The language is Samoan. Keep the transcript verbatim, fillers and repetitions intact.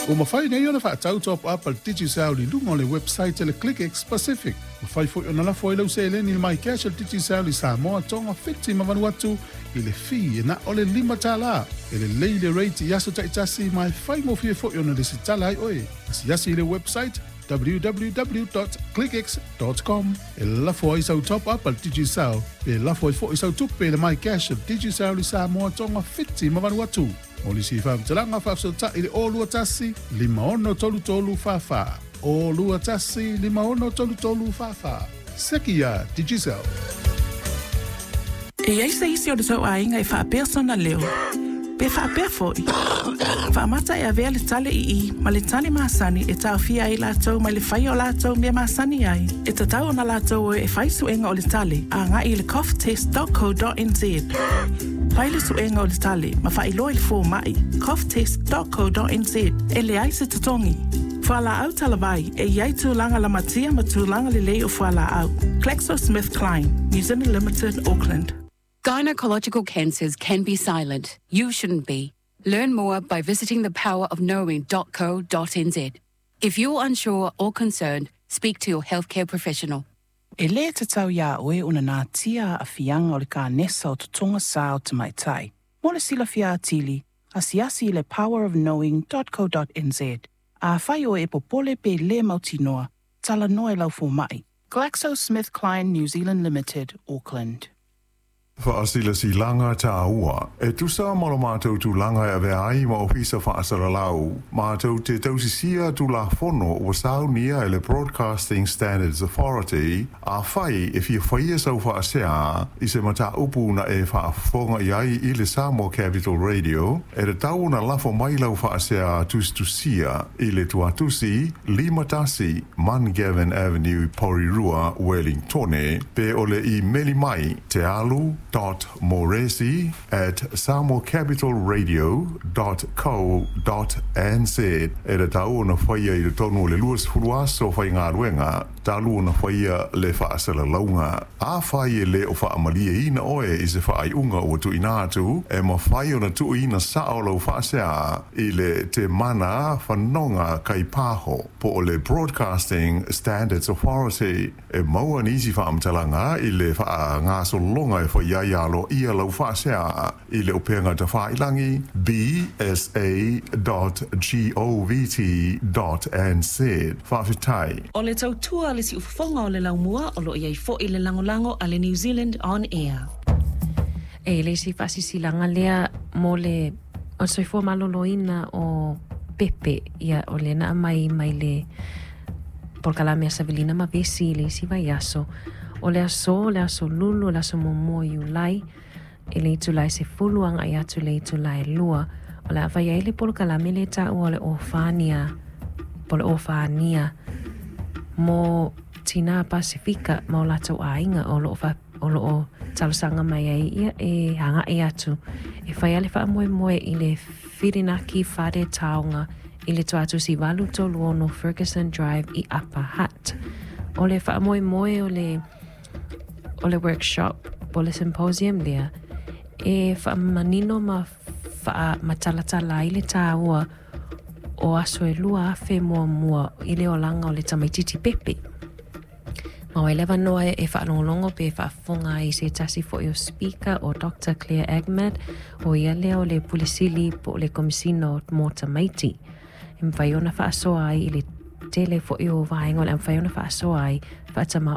Ua mafai nei ona faatau top up a le Digicel i luga o le website a le ClickX Pacific. Mafai foi ona lafo ai lau seleni i le MyCash a le Digicel i Samoa, Tonga, Fiti ma Vanuatu i le fee e na o le lima tala. E lelei le rate i aso taitasi ma e faigofie foi ona lesitala ai oe. Asiasi i le website w w w dot clickx dot com e lafo ai sau top up a le Digicel pe lafo ai foi sau tupe i le MyCash a le Digicel i Samoa, Tonga, Fiti ma Vanuatu. O lisi faamatalaga faafesootai i le o lua tasi, lima ono tolu tolu fa fa. O lua tasi, lima ono tolu tolu fa fa. Seki ia Digicel. E iai se isi o le tou aiga e faapea sona leo. Pe faapea foi. Faamata e avea le tale i i ma le tale masani e taofia ai latou mai le faia o latou mea masani ai. E tatau ona latou o e fai suega o le tale a agai i le cough test dot co dot n z. Fai le suega o le tale ma faailoa i le fomai cough test dot co dot n z e leai se totogi. Fualaau talavai e iai tulaga lamatia ma tulaga lelei o fualaau. GlaxoSmithKline, New Zealand Limited, Auckland. Gynecological cancers can be silent. You shouldn't be. Learn more by visiting the power of knowing dot co dot n z. If you're unsure or concerned, speak to your healthcare professional. E lē tatau iā oe ona natia aafiaga o le kanesa o totoga sa o tamaitai. Mo le silafia atili, asiasi i le power of knowing dot co dot n z. Afai oe e popole pe lē mautinoa, talanoa i lau fomaʻi. GlaxoSmithKline New Zealand Limited, Auckland. Faasilasilaga taua. E tusa ma lo matou tulaga e avea ai ma ofisa faasalalau, matou te tausisia tulafono ua saunia e le Broadcasting Standards Authority. Afai e fia faia sau faasea i se mataupu na e faafofoga i ai i le Samoa Capital Radio, e tatau ona lafo mai lau faasea tusitusia i le tuatusi lima tasi Mungavin Avenue, Porirua, Wellingtone, pe o le imeli mai te alu dot moresi at samoa capital radio dot co dot n z. E tatau ona faia i totonu o le luasefulu aso faigaluega talu ona faia le faasalalauga. Afai e lē o faamalieina oe i se faaiuga ua tuuina atu, e mafai ona tuuina sao lau faasea i le Te Mana Fanoga Kaipaho po o le Broadcasting Standards Authority. E maua nisi faamatalaga i le faagasologa e faia ai aloaia lau faasea i le upega tafailagi b s a dot g o v t dot n z. Faafetai. O le tautua le siufofoga o le laumua o loo iai foʻi le lagolago a le New Zealand On Air. E le isi faasisilaga lea mo le o le soifua malōlōina o pepe ia o le na mai mai le polokalame a Savelina ma Vesi i le isi vaiaso. O le aso, le aso lulu, le aso muamua o Iulai, i le itulā e sefulu agaʻi atu i le itulā e lua. O le a fai ai le polokalame le taua o le ofania, po le ofania mo tinā Pasifika ma o latou aiga o loo fa, o loo talosaga mai ai ia e agaʻi atu. E fai a le faamoemoe i le Whirinaki Whare Taonga i le tuatusi valu tolu ono Ferguson Drive i Upper Hutt. O le faamoemoe o le o le workshop po le symposium lea e faamanino ma faa matalatala ai le tāua o aso e lua afe muamua i le olaga o le tamaititi pepe. Ma o e leva noa e faalogologo pe faafofoga ai se tasi foʻi o speaker o Doctor Claire Ahmad o ia lea o le pulesili po o le komisino mo tamaiti. E mafai ona faasoa ai i le tele foʻi o vaega o le a mafai ona faasoa ai faatamā